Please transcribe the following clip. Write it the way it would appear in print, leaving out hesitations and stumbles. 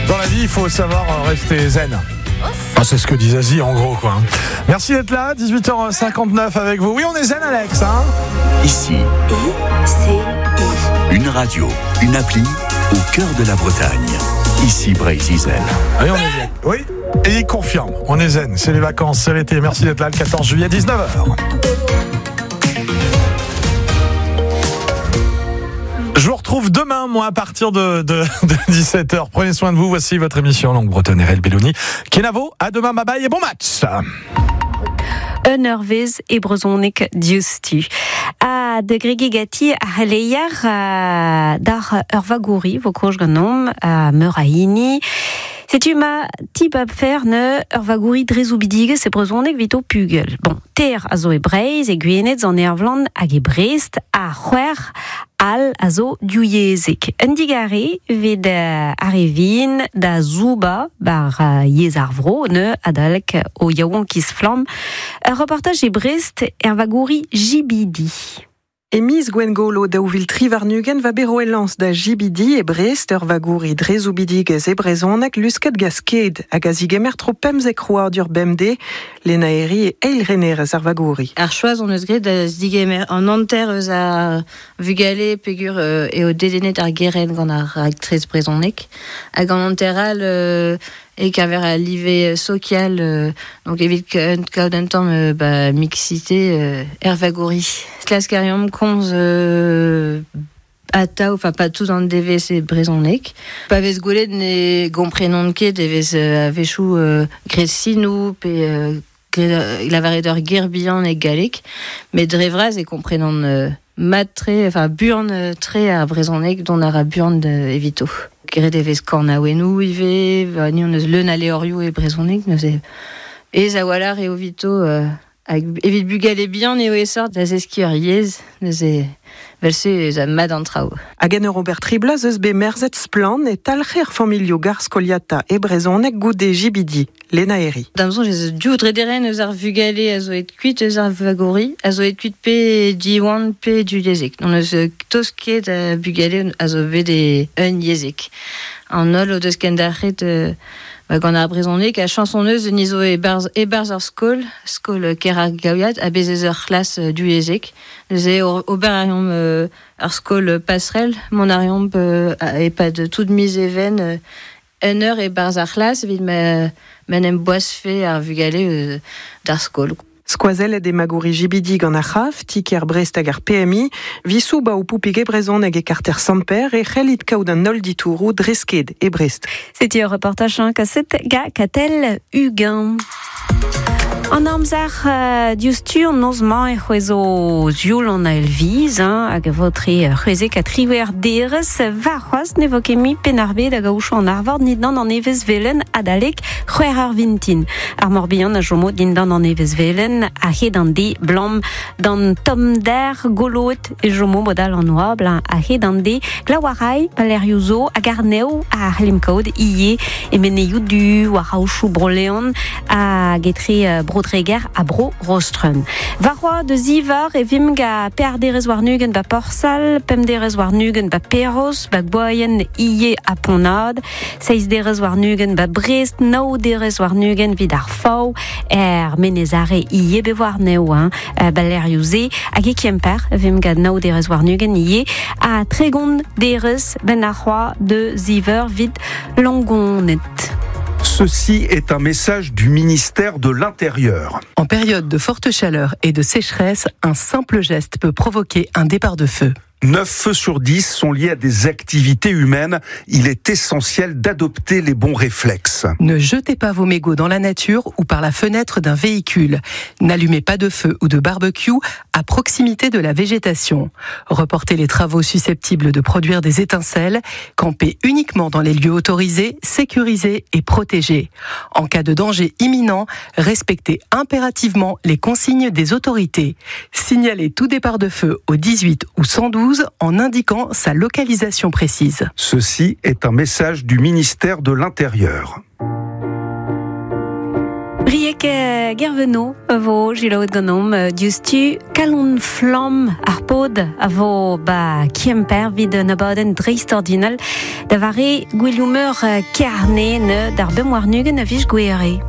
Dans la vie, il faut savoir rester zen. Ah, c'est ce que dit Zazie en gros quoi. Merci d'être là, 18h59 avec vous. Oui, on est zen Alex hein. Ici, I-C-I. une radio, une appli au cœur de la Bretagne. Ici Breizh Izel. Oui, on est zen. Oui, et il confirme, on est zen, c'est les vacances, c'est l'été. Merci d'être là le 14 juillet, 19h. Je vous retrouve demain, moi, à partir de 17h. Prenez soin de vous. Voici votre émission Langue Bretonne RL Belloni. Kenavo, à demain, bye bye et bon match. Un eurvez e brezhoneg diouzhtu. Ha da gregiñ ganti ar c'heleier d'ar ur vagouri vo kozh ganeomp meur a hini. Setu ma tibab fer ne ur vagouri dre zoubidigezh e brezhoneg evit ho pugel. Bon, ter a zo e Breizh, e Gwened, an Ervland hag e Brest, ha c'hwec'h all a zo diouyezhek. Un digare evit ar re vihan da zouba bar yezh ar vro ne adalek o yaouankiz flamm. Ur reportaj e Brest er vagouri Jibidi. E miz Gwengolo 2023 va bet roet lañs da Jibidi e Brest ur vagouri dre zoubidigezh e brezhoneg lusket gant Sked hag a zigemer tro pemzek krouadur bemdez, Lena Herri e eil renerez ar vagouri. Ar choaz hon eus graet da zigemer an hanter eus ar vugale peogwir eo dedennet ar gerent gant ar raktres brezhoneg hag an hanter all e-keñver al live sokial, donc evit kaout un tamm ba, mixité er vagouri. Klask a reomp komz atav, enfin pas tout an devezh e brezhoneg. Pa vez gwelet ne gomprenont ket e vez a-wechoù graet sinoù pe graet lavaret ur ger bihan e galleg, met dre vras e komprenont mat-tre, enfin buan-tre ar brezhoneg dont a ra buan evito. Graet e vez kornaouennoù ivez, ba, ni hon eus leun a levrioù e brezhoneg, neuze ez a-walc'h eo evito hag evit bugale bihan eo aesoc'h da zeskiñ ur yezh, neuze vel-se ez a mat an traoù. Hag en ur ober tri bloaz eus bet merzet splann e talc'her familhoù gar skoliata e brezhoneg goude Jibidi, Lena Herri. Da'm soñj ez eus div drederenn eus ar vugale a zo aet kuit eus ar vagouri, a zo aet kuit pe Diwan pe divyezhek. N'hon eus tost ket a bugale a zo bet e un yezhek. An holl o deus kendalc'het ba, gant ar brezhoneg ha chañs hon eus ni zo e-barzh e-barzh ar skol, skol Kêr-ar-Gaouiad, ha bez' ez ur c'hlas divyezhek. Neuze ober a reomp ar skol passerelle, mont a reomp e-pad tout miz Even un eur e-barzh ar c'hlas evit ma en em boazfe ar vugale d'ar skol. Skoazellet eo magouri Jibidi gant ar c'haf, ti-kêr Brest hag ar PMI, visoù ba ho poupig e brezhoneg e karter Sant-Pêr e c'hellit kaout an holl ditouroù dre sked e Brest. Setu ur reportaj kaset gant Katell Huguin. An amzer diouzhtu an noz-mañ e c'hwezo sioul an ael-viz hein, hag e vo tre c'hwezek ha triwec'h derez. Warc'hoazh ne vo ket mui Penn-ar-Bed hag aochañ an arvor dindan an evezh velen adalek c'hwec'h eur vintin. Ar Morbihan a chomo dindan an evezh velen a-hed an de blam d'an tommder goloet e chomo modal an oabl a-hed an de glav a ray palerioù zo hag arnev a c'hellimp kaout ivez e menezioù du war aochoù Bro-Leon hag etre Bro-Dreger ha Bro-Rostren. Warc'hoazh da zivar e vimp gant pevar derez warn-ugent ba Porsal, pemp derez warn-ugent ba Perroz, ba Gwaien, ivez ha Pont-Nad, seizh derez warn-ugent ba Brest, nav derez warn-ugent evit ar Faou, er Menez-Are ivez bet warnezho hein, ba lec'hioù-se, hag e Kemper e vimp gant nav derez warn-ugent ivez, ha 30 derez benn ar c'hoazh da ziver evit Langoned. Ceci est un message du ministère de l'Intérieur. En période de forte chaleur et de sécheresse, un simple geste peut provoquer un départ de feu. 9 feux sur 10 sont liés à des activités humaines. Il est essentiel d'adopter les bons réflexes. Ne jetez pas vos mégots dans la nature ou par la fenêtre d'un véhicule. N'allumez pas de feu ou de barbecue à proximité de la végétation. Reportez les travaux susceptibles de produire des étincelles. Campez uniquement dans les lieux autorisés, sécurisés et protégés. En cas de danger imminent, respectez impérativement les consignes des autorités. Signalez tout départ de feu au 18 ou 112 en indiquant sa localisation précise. Ceci est un message du ministère de l'Intérieur. Brieg Gerveno a vo selaouet ganeomp diouzhtu. Kalon flamm ar pod a vo ba Kemper evit un abadenn dreistordinal da vare gouelioù-meur Kerne d'ar 25 a viz Gouhere.